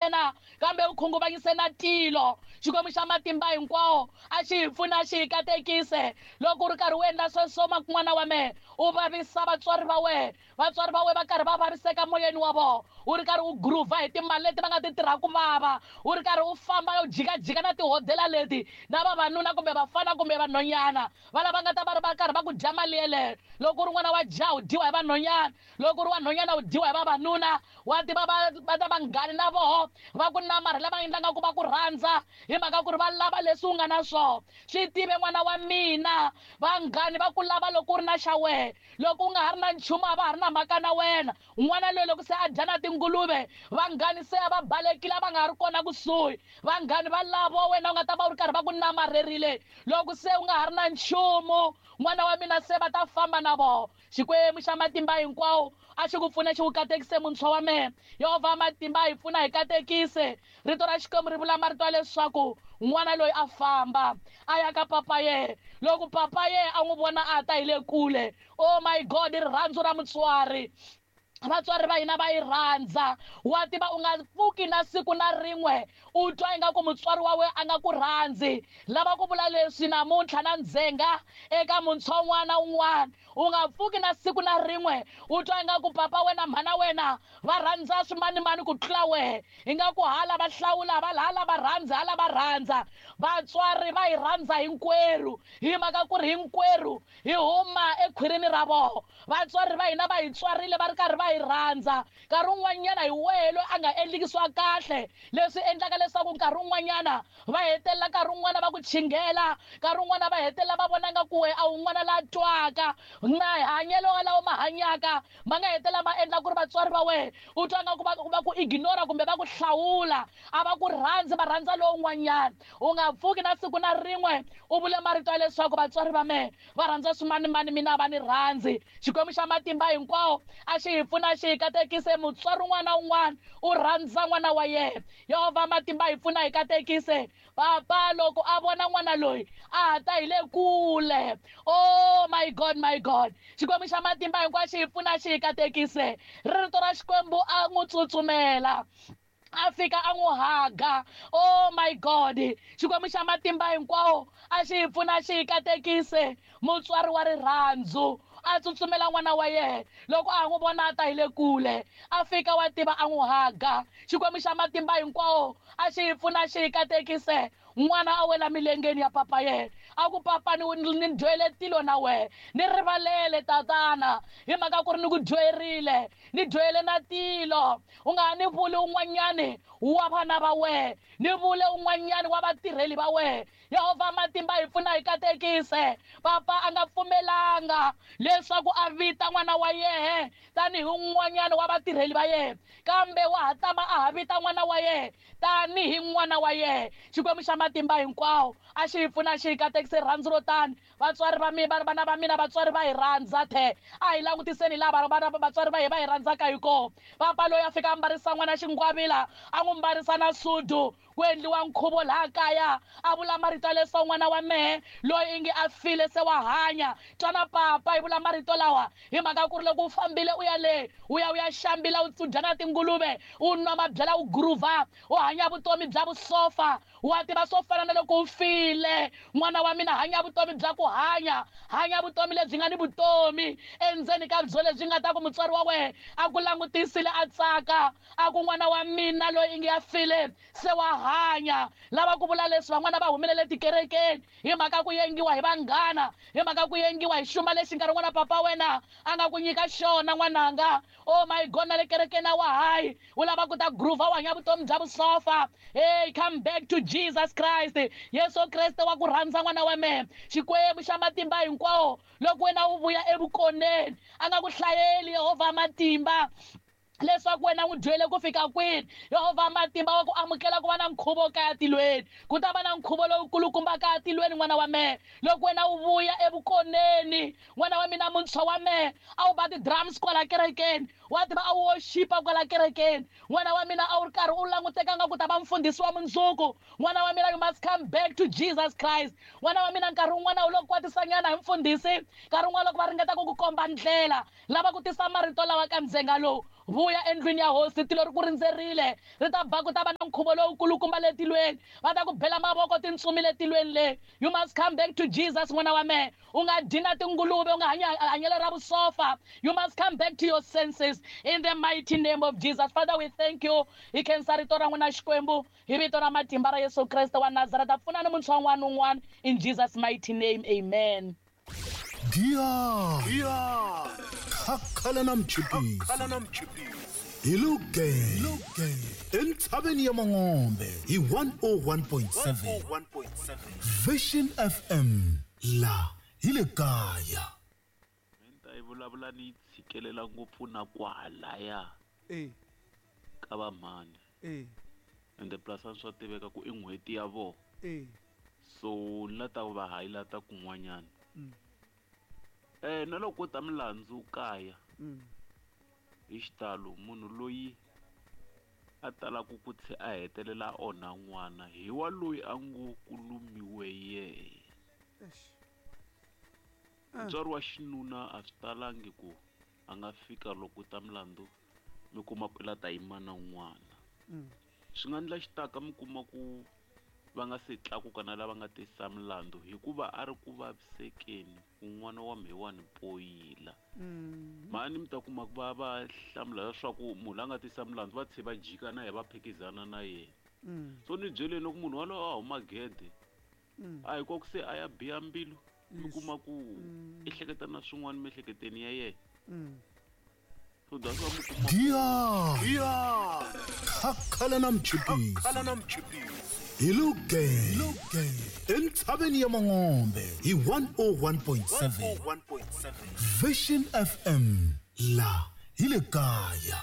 ntsena kambe u khunguvanyise na tilo. Xikwembu xa matimba hinkwawo a xi hi pfuna, xi hi katekise. Loko u ri karhi u endla sweswo, n'wana wa mehe, u vavisa vatswari va wena, vatswari va wena va karhi va vaviseka moyeni wa vona, u ri karhi u groova hi timali leti va nga ti tirha ku vava, u ri karhi u famba u jikajika na tihodela leti na vavanuna kumbe vafana kumbe vanhwanyana va lava nga ta va ri va karhi va ku dya mali yeleyo. Loko u ri n'wana wa jaha u dyiwa hi vanhwanyana, loko u ri wa nhwanyana u dyiwa hi vavanuna. Wa tiva va ta vanghani na voho va ku namarhela, va endla nga ku va ku rhandza hi mhaka ku ri va lava leswi u nga na swona. Swi tive n'wana wa mina, vanghani va ku lava loko u ri na xa wena, loko u nga ha ri na nchumu a va ha ri na mhaka na wena. N'wana loyi loko se a dya na tinguluve, vanghani se a va balekile, a va nga ha ri kona kusuhi. Vanghani va lavo wena u nga ta va u ri karhi va ku namarherile, loko se u nga ha ri na nchumu, n'wana wa mina, se va ta famba na vona. Xikwembu xa matimba hinkwawo a xi ku pfune, xi ku katekise, muntshwa wa mehe. Yehovha matimba hi pfuna, hi katekise. Rito ra Xikwembu ri vula marito ya leswaku n'wana loyi a famba a ya ka papa yehe. Loko papa yehe a n'wi vona a ta hi le kule, oh my God, rirhandzu ra mutswari, vatswari va hina va yi rhandza. Wa tiva u nga pfuki na siku na rin'we u twa ingaku mutswari wa wena a nga ku rhandzi. Lava ku vula leswi namuntlha na ndzhenga eka muntshwa un'wana na un'wana, u nga pfuki na siku na rin'we u twa ingaku papa wena, mhana wena va rhandza swimanimani ku tlula wehe, ingaku hala va hlawula, va hala va rhandza, hala va rhandza. Vatswari va hi rhandza hinkwerhu, hi mhaka ku ri hinkwerhu hi huma ekhwirini ra vona. Vatswari va hina va hi tswarile va ri karhi va hi rhandza. Nkarhi wun'wanyana hi wehe loyi a nga endliki swa kahle, leswi endlaka leswaku nkarhi wun'wanyana va hetelela nkarhi wun'wana va ku chinghela, nkarhi wun'wana va hetelela va vona nga ku wehe a wu n'wana la twaka na hanyelo lawa ma hanyaka, ma nga hetelela ma endla ku ri vatswari va wehe u twa nga ku va ku ignora kumbe va ku hlawula, a va ku rhandzi, va rhandza lowun'wanyana. U nga pfuki na siku na rin'we u vule marito ya leswaku vatswari va mehe va rhandza swimanimani, mina a va ni rhandzi. Xikwembu xa matimba hinkwawo a xi hi pfuna, xi hi katekise. Mutswari un'wana na un'wana u rhandza n'wana wa yena. Yehovha matimba hi pfuna, hi katekise. Papa loko a vona n'wana loyi a ha ta hi le kule, oh my God, my God, Xikwembu xa matimba hinkwawo xi hi pfuna, xi hi katekise. Rito ra Xikwembu, a n'wi tsutsumela, a fika a n'wi haga. Oh my God, Xikwembu xa matimba hinkwawo a xi hi pfuna, xi hi katekise. Mutswari wa rirhandzu a tsutsumela n'wana wa yena loko a n'wi vona a ta hi le kule, a fika, wa tiva, a n'wi haga. Xikwembu xa matimba hinkwawo a xi hi pfuna, xi hi katekise. N'wana a wela milengeni ya papa yena, a ku, "Papa, ni dyohele tilo na wehe, ni rivalele tatana, hi mhaka ku ri ni ku dyoherile, ni dyohele na tilo. U nga ha ni vuli un'wanyani wa vana va wehe, ni vule un'wanyani wa vatirheli va wehe." Yehovha matimba hi pfuna, hi katekise. Papa a nga pfumelanga leswaku a vita n'wana wa yehe tanihi un'wanyana wa vatirheli va yena, kambe wa ha tama a ha vita n'wana wa yena tanihi n'wana wa yena. Xikwembu xa matimba hinkwawo a xi hi pfuna, xi hi katekise. Rirhandzu ro tani, vatswari va mina, vana va mina, vatswari va hi rhandza the. A hi langutiseni laha vana vatswari va hi va hi rhandzaka hi kona. Papa loyi a fika a mbarisa n'wana xingwavila, a n'wi mbarisa na sudu, ku endliwa nkhuvo laha kaya. A vula marito ya leswaku n'wana wa mehe loyi ingi a file se wa hanya. Twana papa hi vula marito lawa hi mhaka ku ri loko u fambile u ya le u ya u ya xambila, u dya na tinguluve, u nwa mabyala, u groova, u hanya vutomi bya vusofa, wa tiva, swo fana na loko u file. N'wana wa mina, hanya vutomi bya ku hanya, hanya vutomi lebyi nga ni vutomi endzeni ka byo, lebyi nga ta ku mutswari wa wena a ku langutisile a tsaka, a ku, "N'wana wa mina loyi ingi ya file se wa hanya." Lava ku vula leswi, van'wana va humelele tikerekeni hi mhaka ku yengiwa hi vanghana, hi mhaka ku yengiwa hi xuma lexi nkarhi wun'wana papa wena a nga ku nyika xona. N'wananga, oh my God, na le kerekeni a wa hayi, u lava ku ta groova, u hanya vutomi bya vusofa. Hey, come back to Jesus Christ. Yesu Kreste wa ku rhandza, n'wana wa mehe. Xikwembu xa matimba hinkwawo, loko wena u vuya evukoneni, a nga ku hlayeli Yehovha matimba leswaku wena n'wi dyele ku fika kwini. Yehovha matimba wa ku amukela ku va na nkhuvo kaya tilweni. Ku ta va na nkhuvo lowukulukumba kaya tilweni, n'wana wa mehe, loko wena u vuya evukoneni. N'wana wa mina, muntshwa wa mehe, a wu ba ti-drums kwala kerekeni, wa tiva, a wu worshipa kwala kerekeni. N'wana wa mina, a wu ri karhi u languteka. nga ku ta va mfundhisi wa mundzuku. N'wana wa mina, you must come back to Jesus Christ. N'wana wa mina, nkarhi wun'wana wu lo kwatisanyana hi mfundhisi, nkarhi wun'wana loko va ringeta ku ku komba ndlela, lava ku tisa marito lawa ka ndzhenga lowu. Vuya endlwini ya hosi, tilo ri ku rindzerile, ri ta ba ku ta va na nkhuvo lowukulukumba le tilweni, va ta ku bela mavoko tintsumi le tilweni le. You must come back to Jesus, n'wana wa mehe. U nga dyi na tinguluve, u nga hanyi hanyelo ra vusofa. You must come back to your senses in the mighty name of Jesus. Father, we thank you. Hi khensa rito ra n'wina Xikwembu, hi vito ra matimba ra Yesu Kreste wa Nazareta. Pfunani muntshwa un'wana ni un'wana in Jesus mighty name. Amen. Giya Khakhala na mchipisi hi Lugenge entshaveni ya Mangombe hi 101.7 Vision FM la hi le kaya. Menta yi vulavula ni yi tshikelela ngopfu na kwalaya Eh, ka va mhani eh, ende plus a swa tiveka ku i n'hweti ya vona eh. so ni la ta va highlighta kun'wanyana. Mm. Na loko ko ta milandzu kaya Mm. hi xitalo munhu loyi a talaku ku tlhe a hetelela a onha n'wana hi wa loyi a ngo ku lumiwe yehe. Eish. Mutswari wa xinuna a swi talangi ku a nga fika loko ta milandzu mi kuma ku i la ta yima na n'wana. Mm. Swi nga endla xitaka mi kuma ku va nga se tlakuka na lava nga tisa milandzu hikuva a ri ku vavisekeni ku n'wana wa mhewani poyila. Mm. Mhani mi ta kuma ku va va hlamula leswaku munhu la nga tisa milandzu va tlhe va jika na yena va phikizana na yena. Mm. So ni byeleni loko munhu walowo a huma gede Mm. a hi ko ku se a ya biha mbilu mi Yes. kuma ku Mm. i hleketa na swin'wana miehleketweni ya yena. Mm. So that's why mi kuma Giya Khakhala na mchipisi hi Lugenge entshaveni ya Mangombe hi 101.7 Vision FM la hi le kaya.